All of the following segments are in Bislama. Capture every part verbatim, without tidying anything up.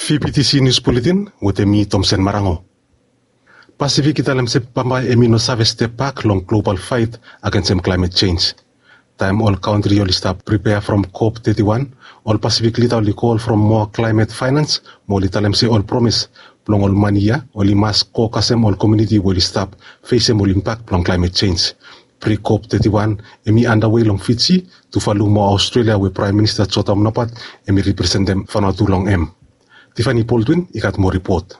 Fifty C News Bulletin wetem mi, Tomsen Marango. Pasifik i talem se bambae hemi no save step bak long global faet agensem klaemet jenj. Taem ol kantri oli stap pripea from COP thirty-one, ol Pasifik lida oli kol from moa klaemet faenans, mo oli talem se ol promes blong ol mane ia oli mas go kasem ol komuniti we oli stap fesem ol impak blong klaemet jenj. Pre-COP thirty-one hemi andawe long Fiji, tuvalu mo Aostrelia we Praem Minista Jotam Napat hemi representem Vanuatu long hem. Tiffany Baldwin i gat moa ripot.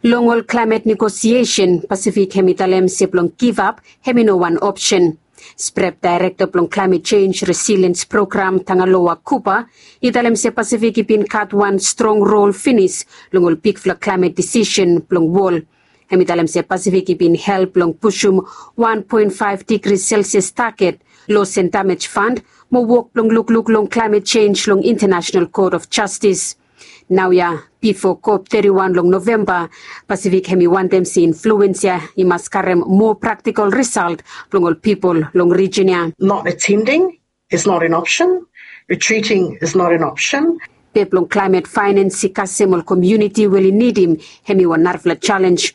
Long ol klaemet negosiesen, Pasifik hemi talem se blong givap hemi no wan opsen. Sprep, daerekta blong Klaemet Jenj Resiliens Program, Tangaloa Cooper, i talem se Pasifik i bin gat wan strong rol finis long ol bigfala klaemet disisen blong wol. Hemi talem se Pasifik i bin help long pusum wan poen faef digri Celsius taget, Loss and Damage Fund, mo wok blong lukluk long klaemet jenj long International Court of Justice. Naoia, bifo COP thirty-one long Novemba, Pasifik hemi wantem se influens ia i mas karem moa praktikol risalt blong ol pipol long rijin ia. Not attending is not an option. Retreating is not an option. Be blong klaemet faenans i kasem ol komuniti we oli nidim hemi wan narafala jalenj.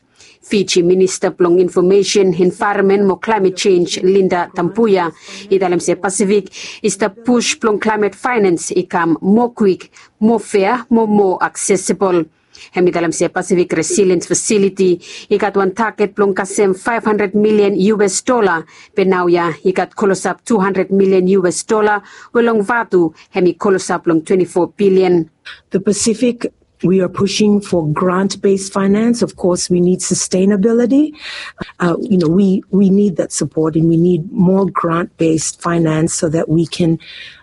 Fiji Minista blong Infomesen, Envaeronmen mo Klaemet Jenj, Linda Tabuya, i talem se Pasifik i stap pus blong klaemet faenans i kam moa kwik, moa fea mo moa aksesibol. Hemi talem se Pasifik Resiliens Fasiliti i gat wan taget blong kasem faef handred milian US dola, be naoia i gat klosap tu handred milian US dola, we long Vanuatu hemi klosap long twenti fo bilian. The Pacific, we are pushing for grant-based finance. Of course, we need sustainability. Uh, you know, we, we need that support, and we need more grant-based finance so that we can,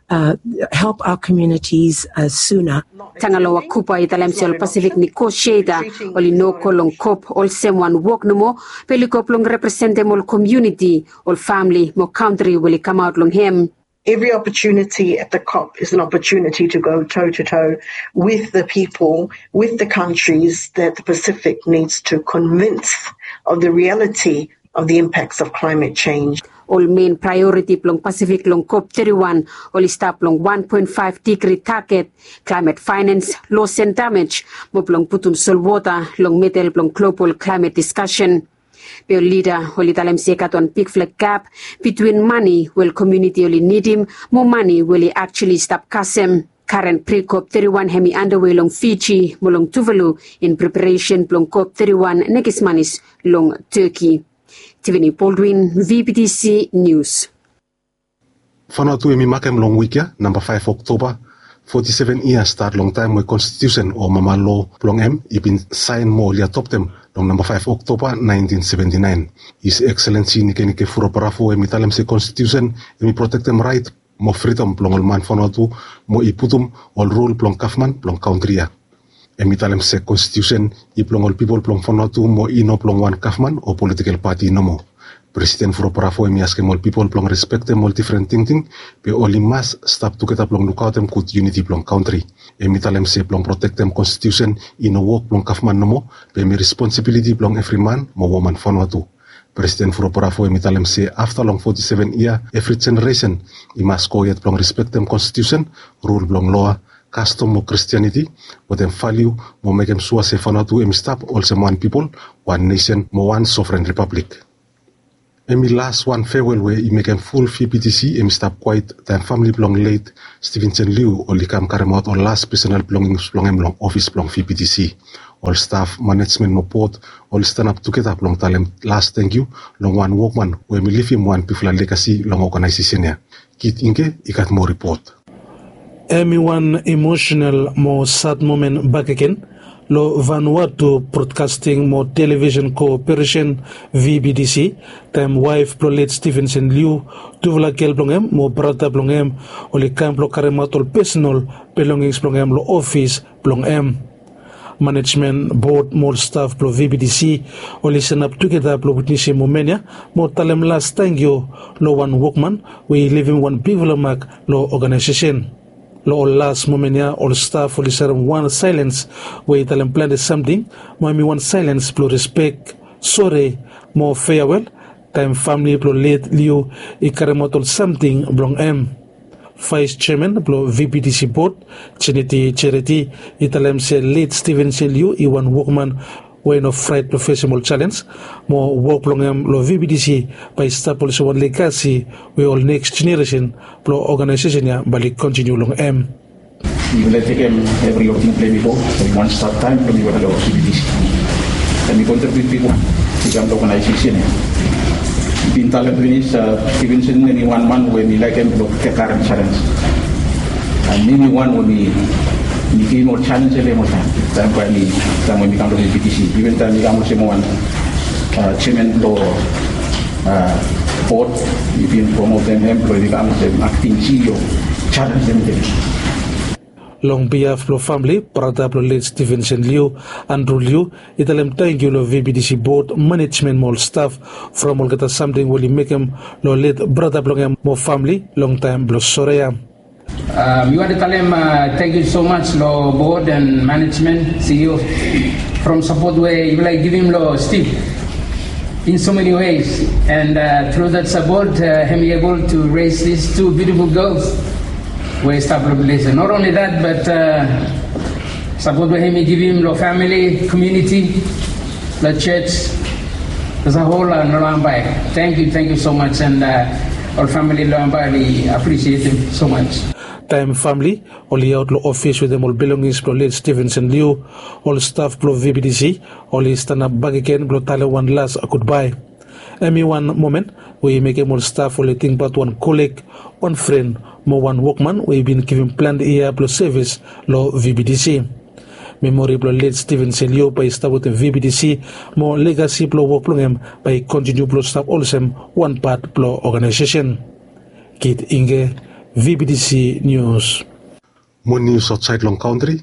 uh, help our communities, uh, sooner. Tangaloa Cooper i talem se ol Pasifik negosieta oli no go long COP olsem wan wok nomo, be oli go blong representem ol komuniti, ol famili mo kantri we oli kamaot long hem. Every opportunity at the COP is an opportunity to go toe to toe with the people, with the countries that the Pacific needs to convince of the reality of the impacts of climate change. Ol mein praeoriti blong Pasifik long COP thirty-one oli stap long wan poen faef digri taget, klaemet faenans, loss and damage, mo blong putum solwota long medel blong global klaemet diskasen. Be ol lida oli talem se i gat wan bigfala gap bitwin mane we ol komuniti oli nidim mo mane we oli aktuali stap kasem. Karen pre-COP thirty-one hemi andawe long Fiji mo long Tuvalu in preparesen blong COP thirty-one nekis manis long Turkey. Tiffany Baldwin, V B T C News. Vanuatu hemi makem long wik ia, namba faef Oktoba, foti seven yia stat long taem we konstitusen o mama loa blong hem i bin saen mo oli adoptem long namba faef Oktoba naentin seventi naen. His Excellency Nikenike Vurobaravu hemi talem se konstitusen hemi protektem raet mo fridom blong ol man Vanuatu mo i putum ol rul blong gavman blong kantri ia. Hemi talem se konstitusen i blong ol pipol blong Vanuatu mo i no blong wan gavman o politikel pati nomo. Presiden Vurobaravu hemi askem ol pipol blong respektem ol difren tingting, be oli mas stap tugeta blong lukaotem gud yuniti blong kantri. Hemi talem se blong protektem konstitusen i no wok blong gavman nomo, be hemi responsibiliti blong evri man mo woman Vanuatu. Presiden Vurobaravu hemi talem se afta long foti seven yia, evri jeneresen i mas gohed blong respektem konstitusen, rul blong loa, kastom mo Kristianiti, wetem valiu mo mekem sua se Vanuatu hemi stap olsem wan pipol, wan nesen mo wan sovren ripablik. Hemi las wan fewel we i mekem ful V B T C hemi stap kwaet taem famili blong let Stevenson Liu oli kam karemaot ol las pesonal bilongings blong hem long ofis blong V B T C. Ol staf, manejmen mo bod oli stanap tugeta blong talem las tangkiu long wan wokman we hemi livim wan bigfala legasi long oganaesesen ia. Kit Ingke i gat moa ripot. Hemi wan emosenal mo sad momen bakegen long Vanuatu Broadcasting mo Television Cooperation, V B T C, taem waef blong let Stevenson Liu, tufala gel blong hem mo brata blong hem oli kam blong karemaot ol pesonal bilongings blong hem long ofis blong hem. Manejmen, bod mo ol staf blong V B T C oli sanap tugeta blong witnesim momen ia mo talem las tangkiu long wan wokman we i livim wan bigfala mak long oganaesesen. Long ol las momen ia ol staf oli serem wan saelens we i talem plante samting, mo hemi wan saelens blong respek, sore mo feawel, taem famili blong let Liu i karemaot ol samting blong hem. Vaes jeaman blong vptc bod, jeneti jereti, i talem se let stevenson liu i wan wokman we i no fraet blong fesem ol jalens, mo wok blong hem long vptc bae i stap olsem wan legasi we ol neks jeneresen blong ogenaesesen ya bae oli kontiniu long hem. Yufala tekem evri opting blem i go from wan stap taem blong yufala long vptc. Em i kontribut bigwan i kam long ogenaesesen ya. Bin talem pinis, stevenson em i wan man we mi laekem blong tekarem jalens. Em i wan we mi givim ol jalens ya long em oltaem, taem bae mi taem we mi kam long vptc, iven taem mi kam olsem wan jeaman blong bod, mi bin promotem hem blong i kam olsem akting ceo. Jalens em i tekem. Long biaf blong famle, brata blong let stevenson liu, andru liu, i talem tangkiu long vptc bod, manejmen mo ol staf from olgeta samting we oli mekem long let brata blong hem mo famle long taem blong sore ya. Mi wantem talem tangkiu so maj long bod and manejmen, ceo, from sapot we yufala i givim long steve in so many ways, and through that support, hem i able to raise these two beautiful girls we i stap long ples ya. Not only that, but sapot we hem i givim long famili, komuniti, long jos, as a hol, long ambae. Tangkiu, tangkiu so maj, and ol famili long ambae oli apresietem so maj. Taem famli oli aot long ofis wetem ol bilongings blong let stevenson liu, ol staf blong vptc oli stanap bakegen blong talem wan las gudbae. Hem i wan momen we i mekem ol staf oli tingbaot wan koleg, wan fren, mo wan wokman we i bin givim plante yia blong sevis long vptc. Memori blong let stevenson liu bae i stap wetem vptc, mo legasi blong wok blong hem bae i kontiniu blong stap olsem wan pat blong ogenaesesen. Kit inge, vptc nius. Mo nius aotsaed long kantri.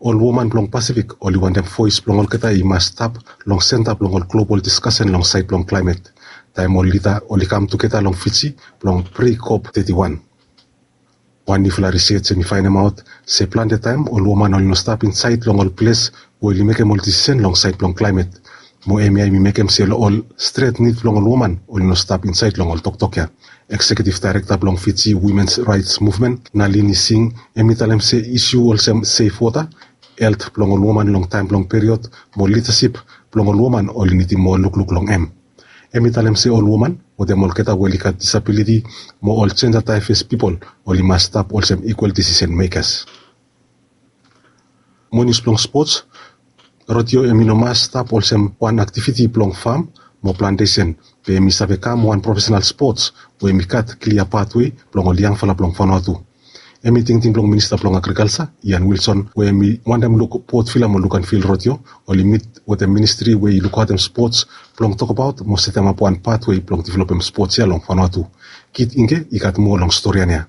Ol woman blong pasifik oli wantem voes blong olgeta i mas stap long senta blong ol global diskasen long saed blong klaemet, taem ol lida oli kam tugeta long fiji blong prekop teti wan. Wan niufala risej hem i faenemaot se plante taem ol woman oli no stap insaed long ol ples we oli mekem ol disisen long saed blong klaemet. Mo hemia hem i mekem se ol stret nid blong ol woman oli no stap insaed long ol toktok ya. Eksekiutiv daerekta blong fiji womens raets muvmen, nalini sing, hem i talem se isu olsem sef wota, helt blong ol woman long taem blong period, mo lidasip blong ol woman oli nidim moa lukluk long hem. Hem i talem se ol woman wetem olgeta we oli gat disabiliti mo ol jenja daefes pipol oli mas stap olsem ikwal disisen mekas. Mo nius blong spots. Rodeo hem i no mas stap olsem wan aktiviti blong fam mo plantesen, be hem i save kam wan profesenal spots we hem i gat klia patwe blong ol yangfala blong fanua tu. Hem i tingting blong minista blong agrikalsa, ian wilson, we hem i wantem luk potvila mo lukanvil rodeo oli mit wetem ministri we i lukaotem spots blong tokbaot mo setemap wan patwe blong developem spots ya long fanua tu. Kit inge i gat moa long storian ya.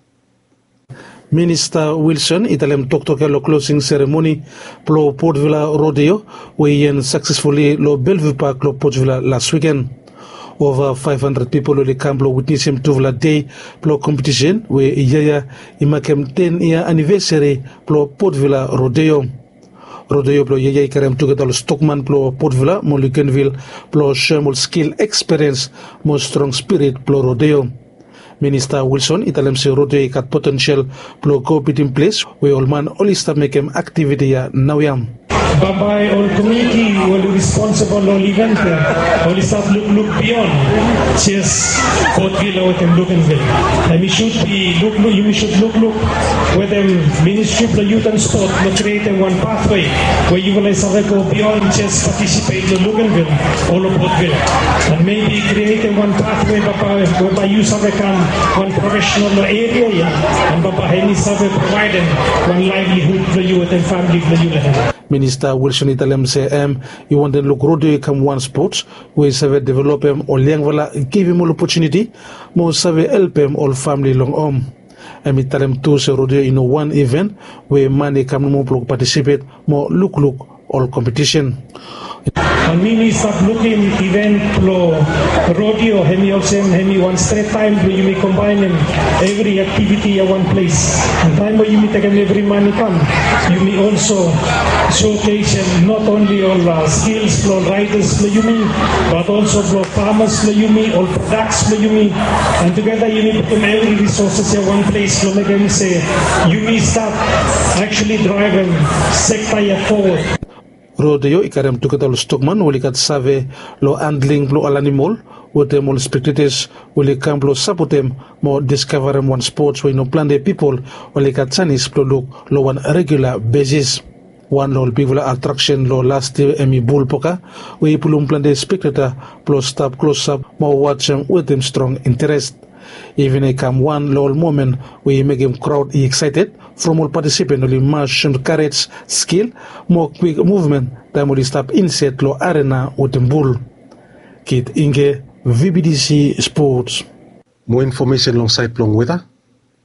Minista wilson i talem toktok ya long klosing seremoni blong potvila rodeo we i en saksesfuli long belviu pak long potvila las wiken. Ova faef handred pipol oli kam blong witnesem tufala dei blong kompetisen we yia ya i makem ten yia anivesari blong potvila rodeo. Rodeo blong yia ya i karem tugeta ol stokman blong potvila mo lukenvil blong soem ol skil, ekspiriens mo strong spirit blong rodeo. Minista wilson i talem se rodeo i gat potensel blong go bitim ples we ol man oli stap mekem aktiviti ya naoia. Bambae ol komiuniti we oli responsebol long ol iven ya oli stap lukluk bion jes potvila wetem lukenvil. Em i sud bi lukluk yumi sud lukluk wetem ministri blong yut and spot blong krietem wan patwe we yufala i save go bion jes patisipet long lukenvil o long potvila. And mebi krietem wan patwe bambae we bae yu save kam wan profesenal long eria ya. And bambae em i save provaedem wan laevlihud blong yu wetem famili blong yu long hem. Minista wilson i talem se em i wantem luk rodeo i kam wan spots we i save developem ol yangfala, givim ol opotuniti mo save helpem ol famili long hom. Em i talem tu se rodeo i no wan iven we man i kam nomo blong patisipet mo lukluk ol kompetisen. Ol mi mi stap lukim iven blong rodeo, hemi olsem hemi wan stret taem blong yumi kombaenem evri aktiviti ya wan ples. An taem we yumi tekem evri man i kam, yumi olso showcasem not only ol skils blong ol raidas blong yumi, bat olso blong famas blong yumi, ol prodaks blong yumi. An tugeta yumi putum evri risoses ya wan ples blong mekem se yumi stap aktuali draevem sekta ya fowod. Rodeo i karem tugeta ol stokman we oli gat save long handling blong ol animol, wetem ol spektetas we oli kam blong sapotem mo diskavarem wan spots we i no plante pipol oli gat janis blong luk long wan regula besis. Wan long ol bigfala atraksen long las yia hemi bul poka, we i pulum plante spekteta blong stap klosap mo wajem wetem strong interes. Iven i kam wan long ol momen we i mekem kraod i eksaeted from ol patisipen oli mas shoem karej, skil mo kwik muvmen taem oli stap inset long arena wetem bul. Kit Inge, V B T C Sports. Moa infomesen long saed blong weta.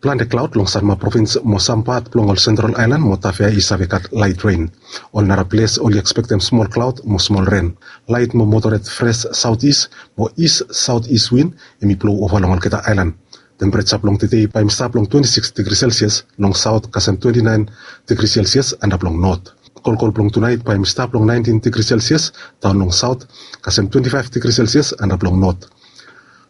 Plante klaod long Sanma provins mo sam pat blong ol sentral aelan mo Tafea i save gat laet ren. Ol nara ples oli ekspektem smol klaod mo smol ren. Laet mo moderet fres saotis mo is saotis win hemi blou ova long olgeta aelan. Tempereja blong tede bae hemi stap long twenti sikis digri selsias long saot kasem twenti naen digri selsias antap long not. Kolkol blong tunaet bae hemi stap long naentin digri selsias daon long saot kasem twenti faef digri selsias antap long not.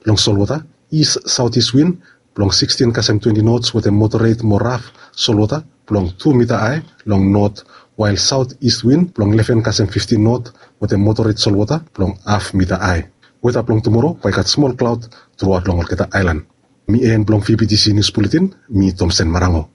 Long solwota, is saotis win blong sikstin kasem twenti nots wetem moderet mo raf solwota blong tu mita ae long not, wael saot is win blong leven kasem fiftin not wetem moderet solwota blong haf mita ae. Weta blong tumoro bae i gat smol klaod truaot long olgeta aelan. Mi en blong V B T C Nius Buletin, mi Tomsen Marango.